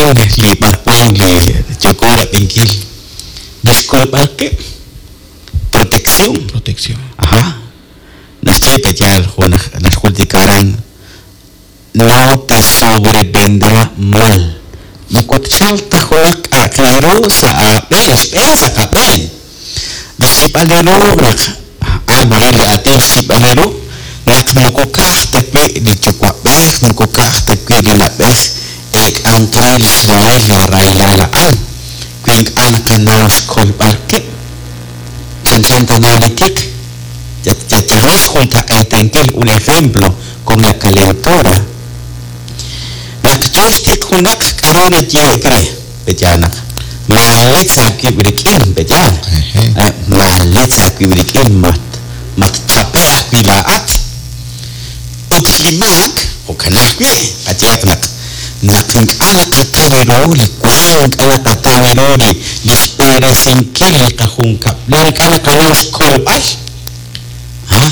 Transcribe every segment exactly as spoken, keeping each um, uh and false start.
rik'in li b'arwan li yooko rab'inkil li xkolb'al qib', protección. Protección. Ajá. Naxye pe yaal jo' naxjultika aran no te sobrevendrá mal. Moko tchalq ta junaq k'a'aq re ru sa' aab'een, xb'een sa' qab'een. Li xyib'al re ru naq a'an mare li aatin xyib'al re ru naq moko ka'aj ta wi' li yuwa'b'ej, moko ka'aj ta wi' li na'b'ej eek'anq re li xrahil li rahilal a'an. Wi ink'a' naqanaw xkolb'al qib', chanchan tana li tiq, yalaq xjuntaq'eetankil un ejemplo con la calentura. Naq yoo xtiq junaq k'aru nayehe'k re, pe'yaal naq maaletz aawib' rik'in, pe'yaal. Maaletz aawib' rik'in, mat matchape' ajwi' laa'at. Ut li maak, jo'kan ajwi', qayehaq naq naq ink'a' naqataw ru li wank, ink'a' naqataw ru li li xb'eresinkil li qajunkab'lal, ink'a' naqanaw xkolb'al. Ah,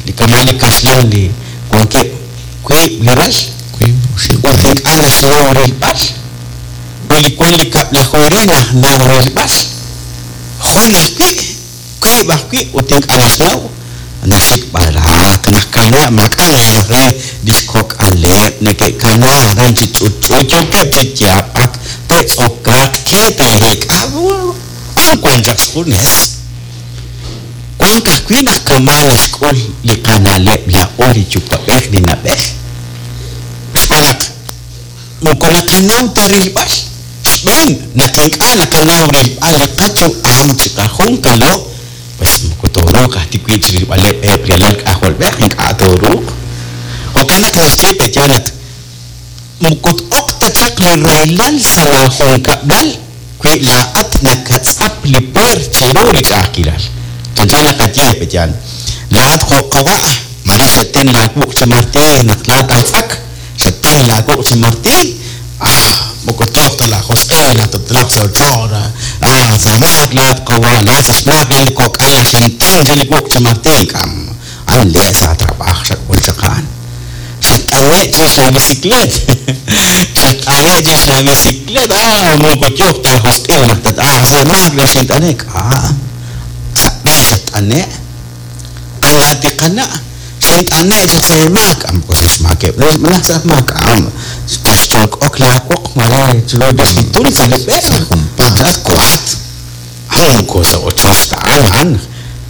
li kama' li kaxlan li wankeb' wiib' li ral, Wiib' oxib'. ut ink'a' naxnaw rilb'al. Wi li wan li kab'laju re naxnaw rilb'al. Jun ajwi', wiib' ajwi' ut ink'a' naxnaw, naxik b'araq, nakana maak'a' naraj re li xkok'aleb', neke'kana aran chi ch'utch'u, yookeb' chi yaab'ak, te'tz'okaaq, ke te'reek'a, a'an wan chaq xjunes. Wank ajwi' naq kama' naxk'ul li qana'leb' laa'o li yuwa'b'ej li na'b'ej. Xb'aan naq moko naqanaw ta rilb'al. Xb'een naq ink'a' naqanaw rilb'al li qayu'am chiqajunqalo, pues moko tooruuq ajwi' chi rilb'aleb' eb' li alal k'ajolb'ej, ink'a' tooruuq. Jo'kan naq naxye pe'yaal naq moko t'oq ta chaq li rahilal sa' laajunkab'lal wi laa'at nakatz'ap li puer chiru li ch'a'ajkilal. Chanchan naqaye pe'yaal, laa'at jo' qawa' mare xaten laawuq' chi martiiy naq laa'at aj tz'ak, xaten laawuq' chi martiiy, ah, moko yooq ta laajosq'il, naq tatloq sa' ochoch, ah, sa' maak laa'at qawa', laa'at sa' xmaak li kok'al xinten chi li wuq' chi martiiy, k'am, a'an le' sa' trabajo xak'ul chaq a'an. Xat'ane' chirix la bicicleta, xat'ane' chirix la bicicleta, ah, moko yooq ta aajosq'il naq tat, ah, sa' maak naq xint'ane', k'a', sa' b'e xat'ane', an laa'at li qana', xint'ane' chaq sa' maak, ah, moko sa' xmaakeb' malaj sa' maak, ah, xyok'ok laawoq mare chiru rix li tul sa' li b'e, Sa' junpaat. Chat kuat, ah, moko sa' ochoch ta a'an, a'an.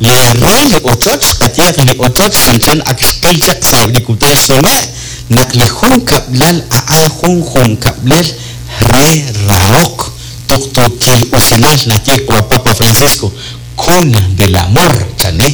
Li re li ochoch, qayehaq li ochoch chanchan ak xqil chaq sa' li kutan xnume', naq li jun kab'lal a'an jun jun kab'lal re rahok, tuqtuukil usilal naxye wa Papa Francisco, cuna del amor, chane.